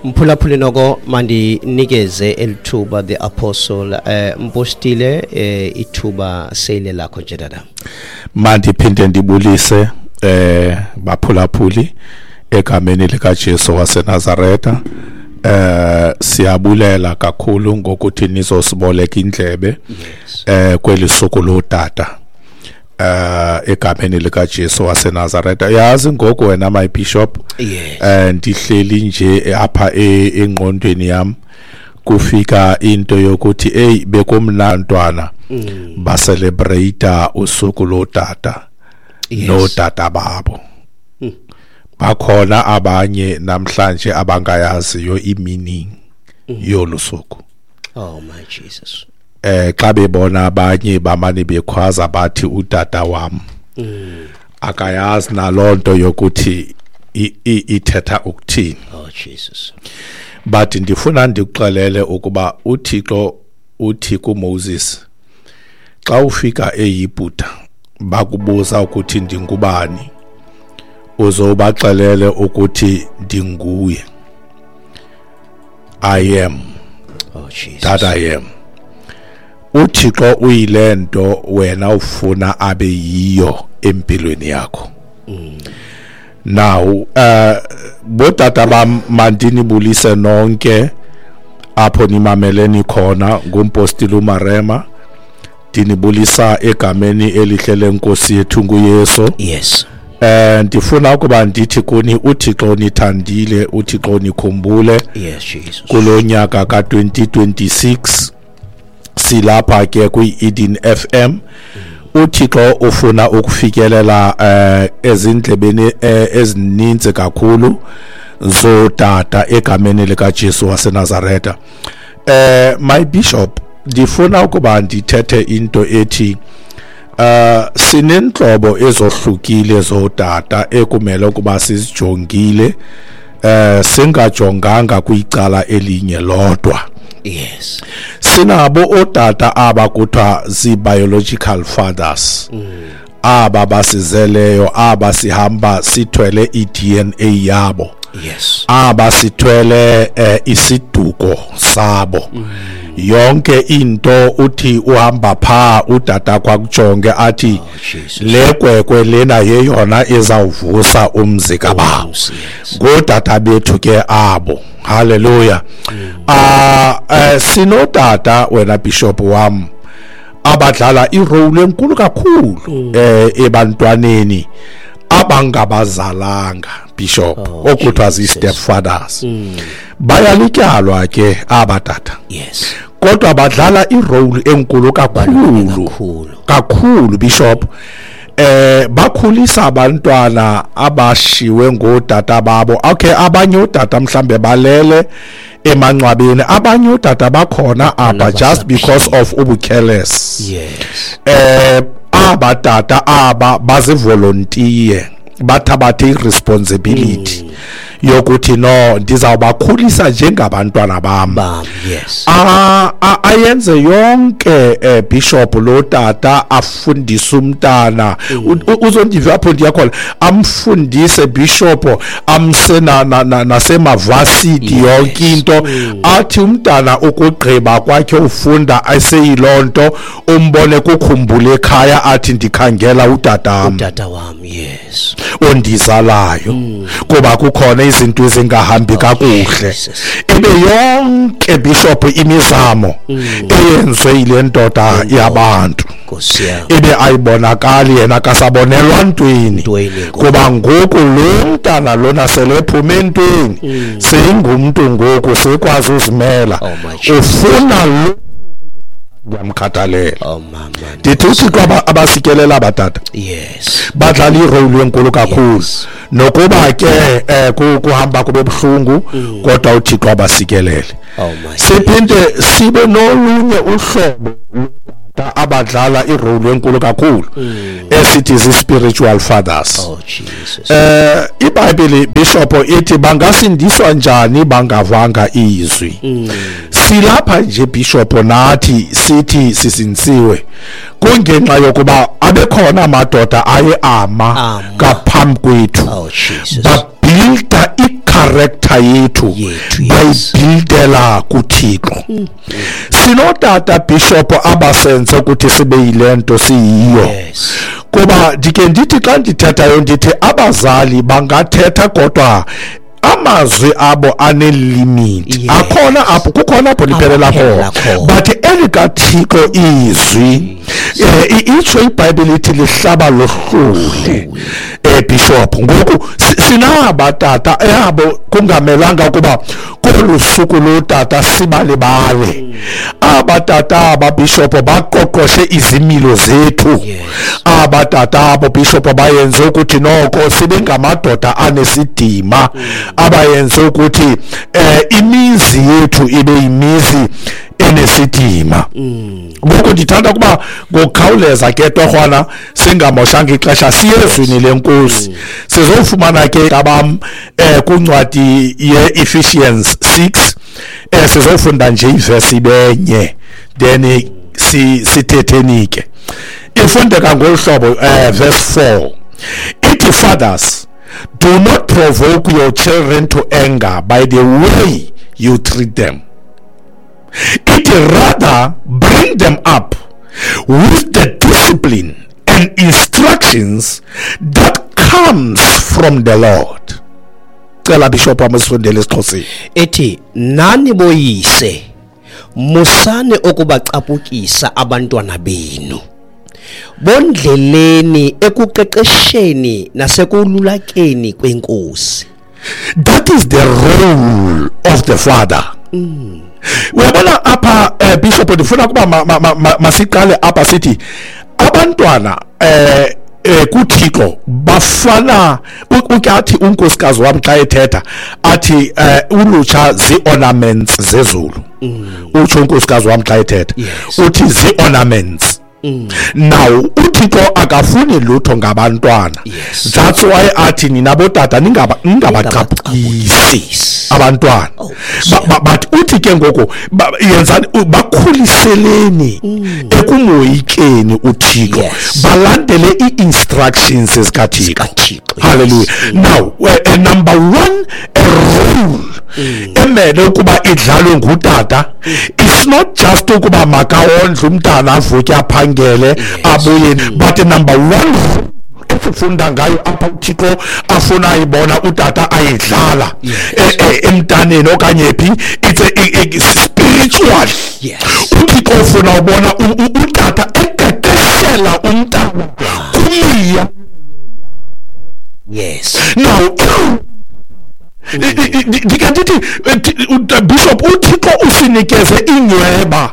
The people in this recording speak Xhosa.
Mphulaphuli, noko mandinikeze elithuba the apostle, mpostile, ithuba seyile lakho nje, tata. Mandiphinde ndibulise baphulaphuli egameni likaJesu waseNazaretha. Siyabulela kakhulu ngokuthi nizosiboleka indlebe kweli suku lotata egameni likaJesu waseNazaretha. Yazi ngoku wena, my bishop, ndihleli nje apha engqondweni yam kufika into yokuthi hey, bekumnantwana bacelebrate usuku lotata notata babo. Bakhona abanye namhlanje abangayaziyo imeaning yolu suku. Oh my Jesus. Xa bebona abanye bamane bekhwaza bathi utata wam, akayazi nalonto yokuthi ithetha ukuthini. Oh Jesus. But ndifuna ndikuxelele ukuba uThixo uthi kuMoses, xa ufika eYiputa bakubuza ukuthi ndingubani, uzobaxelele ukuthi ndinguye I am. Oh Jesus. That I am. UThixo uyilento wena ufuna abe yiyo empilweni yakho. Now botata bam, mandinibulise nonke apho nimameleni khona. Ngumpostile uMarema, ndinibulisa egameni elihle lenkosi yethu nguYesu. Ndifuna ukuba ndithi kuni uThixo nithandile, uThixo nikhumbule. Yes, Jesus. Kulonyaka ka-2026 silapha ke kwi-Eden FM. uThixo ufuna ukufikelela ezindlebeni ezininzi kakhulu zotata egameni likaJesu waseNazaretha. My bishop, ndifuna ukuba ndithethe into ethi sinentlobo ezohlukile zotata ekumele ukuba sizijongile, singajonganga kwicala elinye lodwa. Sinabo otata aba kuthiwa zii-biological fathers, aba basizeleyo, aba sihamba sithwele i-DNA yabo, aba sithwele isiduko sabo. Yonke into uthi uhamba pha utata kwakujonge athi, Oh, Jesus. le kwekwe lena yeyona ezawuvusa umzi kabawo. Umzi, yes. Ngootata bethu ke abo. Haleluya. Sinotata wena, bishop wam, abadlala irole enkulu kakhulu ebantwaneni abangabazalanga, bishop, Oh, okuthiwa Jesus. zii-stepfathers. Bayalityalwa ke aba tata, kodwa badlala irole enkulu kakhulu. Kakhulu. Kakhulu, bishop. Bakhulisa abantwana abashiwe ngotata babo. Okay, abanye otata mhlambe balele emangcwabeni, abanye otata bakhona apha just because of ubucareless. Aba tata aba bazivolunteer, bathabathe iresponsibility yokuthi no, ndizawubakhulisa njengabantwana bam. Bam, yes. Ayenze yonke, bishop, lo tata afundise umntana. Uzondiva apho ndiyakhona, amfundise, bishop, amse nasemavasiti, yonke into. Athi umntana ukugqiba kwakhe ufunda eseyiloo nto, umbone kukhumbula ekhaya, athi ndikhangela utatam Utata wam, yes. ondizalayo, kuba kukhona izinto ezingahambi kakuhle. Jesus. Ibe yonke, bishop, imizamo eyenziwe yile ndoda yabantu Nkosi yam. ibe ayibonakali, yena kasabonelwa ntweni. Ntweni ngoku. Kuba ngoku lo mntana lona sele ephume entweni, seyingumntu ngoku, sekwazi uzimela. Oh, my Jesus. Ufuna lo ndiyamkhathalela. Oh mama. Ndithi uThixo abasikelela abatata. Badlala irole enkulu kakhulu. Nokuba ke kuhamba kube buhlungu, kodwa uThixo abasikelele. Oh my. Siphinde sibe nolunye uhlobo lotata abadlala irole enkulu kakhulu esithi zi-spiritual fathers. Oh Jesus. IBhayibheli, bishop, ithi bangasindiswa njani bangavanga izwi? Silapha nje, bishop, nathi sithi sisinsiwe kungenxa yokuba abekhona amadoda aye ama Ama. ngaphambi kwethu, Oh Jesus. babuilda i-character. I-character yethu Yethu, yes. bayibuildela kuThixo. Sinotata, Bishop, abasenze ukuthi sibe yile nto siyiyo. Kuba ndike ndithi xa ndithethayo, ndithi abazali bangathetha, kodwa amazwi abo anelimit. Akhona apho, kukhona apho liphelela Aphelela khona. Khona. But elikaThixo izwi, itsho iBhayibhile ithi lihlaba lohlule, Bishop. Ngoku sinaba tata abo kungamelanga ukuba kolu suku lotata sibalibale. Aba tata aba, Bishop, baqoqoshe izimilo zethu. Aba tata abo, Bishop, bayenze ukuthi noko sibe ngamadoda anesidima, abayenze ukuthi imizi yethu ibe imizi enesidima. Ngoku ndithanda ukuba ngokukhawuleza ke torhwana, singamoshanga ixesha, siye ezwini leNkosi. Sizofumana ke abam kwincwadi ye-Ephesians 6. Sizofunda nje ivesi ibenye, then sithetheni ke. Ifundeka ngolu hlobo, verse 4 ithi, "Fathers, do not provoke your children to anger by the way you treat them." It rather bring them up with the discipline and instructions that comes from the Lord. Cela, Bishop wam, usifundele esiXhoseni. Ethi, nani boyise, musani ukubacaphukisa abantwana benu, bondleleni ekuqeqesheni nasekululekeni kwenkosi. That is the role of the father. Uyabona apha, Bishop, ndifuna ukuba masiqale apha sithi abantwana kuThixo bafana ukathi unkosikazi wami xa ethetha athi ulutsha zii-ornaments zezulu. Utsho unkosikazi wami xa ethetha, uthi zii-ornaments. Now uThixo akafuni lutho ngabantwana. That's why athi nina botata ningabacaphukisi abantwana. Oh, But uthi ke ngoku yenzani, bakhuliseleni ekumoyikeni uThixo, balandele ii-instructions zikaThixo. ZikaThixo, yes. Hallelujah. Now number one, a role emele ukuba idlalwe ngutata, it's not just ukuba makawondle umntana, avuke, aphangele, abuye, but number one esifunda ngayo apha, uThixo afuna ibona utata ayidlala emntaneni okanye phi, it's a spiritual. UThixo ufuna ubona utata eqeqeshela umntana kumiya. Now ndike ndithi, Bishop, uThixo usinikeze inyweba.